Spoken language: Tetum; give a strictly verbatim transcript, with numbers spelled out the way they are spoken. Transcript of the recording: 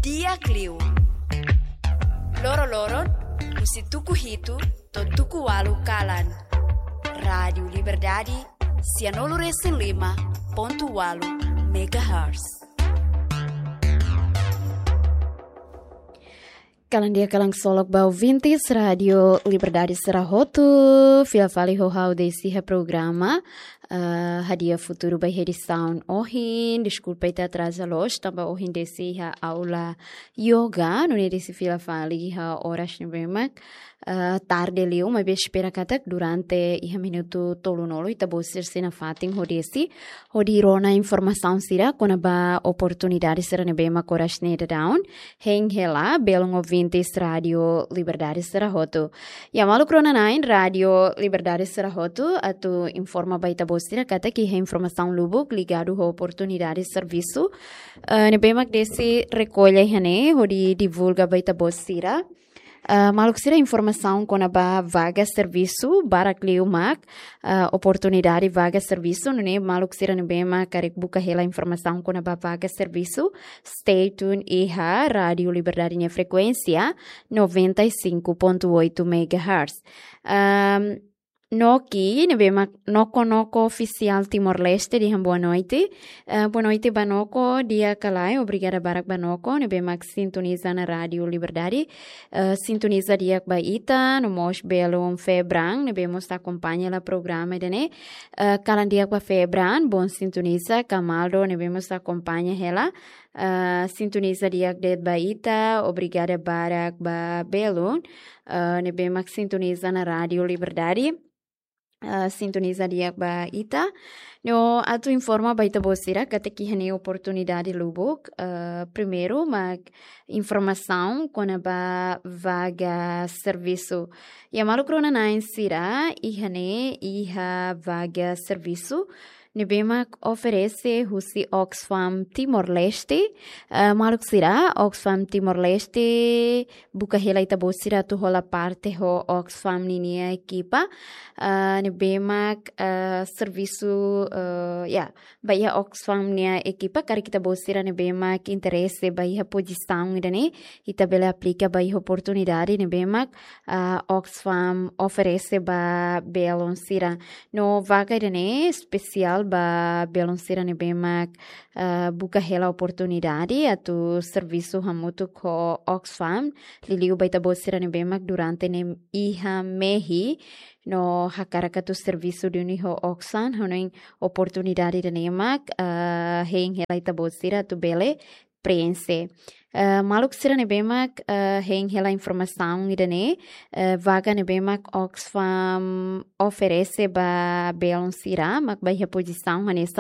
Di'ak liu. Loroloron, husi tuku hitu to'o tuku ualu kalan. Rádiu Liberdade, sianulu-resin-lima pontu ualu megahertz. Kalan di'ak, kalan ksolok ba ouvintes Rádiu Liberdade sira hotu, fila fali ho ha'u Desi iha programa, eh, Hadi'a Futuru ba iha edisaun ohin. Deskulpa ita atraza loos, tanba ohin Desi iha aula yoga, nune'e Desi fila fali iha oras ne'ebé mak, eh, tarde liu, maibé espera katak durante iha minutu tolunulu ita-boot sira sei nafatin ho Desi, hodi rona informasaun sira kona-ba oportunidade sira ne'ebé mak oras ne'e daudaun hein hela belun ouvintes Rádiu Liberdade sira hotu. Ya, maluk rona-na'in Rádiu Liberdade sira hotu, atu informa ba ita-boot sira katak iha informasaun lubuk ligadu ho oportunidade servisu, eh, ne'ebé mak Desi rekolla iha ne'e hodi divulga ba ita-boot sira. Eh, maluk sira, informasaun kona-ba vaga servisu, barak liu mak, eh, oportunidade vaga servisu, nune'e maluk sira ne'ebé mak karik buka hela informasaun kona-ba vaga servisu, stay tuned iha Rádiu Liberdade nia frekuénsia noventa e cinco ponto oito megahertz. Ehm, Noki, ne'ebé mak Noko Noko Ofisiál Timor-Leste dehan boa noite. Eh, boa noite ba Noko, di'ak ka lae, obrigada barak ba Noko, ne'ebé mak sintoniza ona Rádiu Liberdade. Eh, sintoniza di'ak ba ita, no mós belun Febran, ne'ebé mós akompaña hela programa ida-ne'e. Eh, kalan di'ak ba Febran, bom sintonia, Camaldo, ne'ebé mós akompaña hela. Eh, sintoniza di'ak de'it ba ita, obrigada barak ba belun, eh, ne'ebé mak sintoniza ona Rádiu Liberdade. Eh, sintoniza di'ak ba ita. No atu informa ba ita-boot sira katak iha ne'e oportunidade lubuk, eh, primeiru mak informasaun kona-ba vaga servisu. Ya, maluk rona-na'in sira, iha ne'e iha vaga servisu ne'ebé mak oferese husi Oxfam Timor-Leste. Eh, maluk sira, Oxfam Timor-Leste buka hela ita-boot sira atu hola parte ho Oxfam ninia ekipa. Eh, ne'ebé mak, eh, servisu, eh, ya, ba iha Oxfam nia ekipa, karik ita-boot sira ne'ebé mak interese ba iha pozisaun ida-ne'e, ita bele aplika ba iha oportunidade ne'ebé mak, ah, Oxfam oferese ba belun sira. No vaga ida-ne'e espesiál ba belun sira ne'ebé mak, ah, buka hela oportunidade atu servisu hamutuk ho Oxfam, liuliu ba ita-boot sira ne'ebé mak durante ne'e iha mehi, no hakarak atu servisu duni ho Oxfam, hanoin oportunidade ida-ne'e mak, ah, hein hela ita-boot sira atu bele preenxe. Eh, maluk sira ne'ebé mak, eh, hein hela informasaun ida-ne'e, eh, vaga ne'ebé mak Oxfam oferese ba belun sira, mak ba iha pozisaun hanesan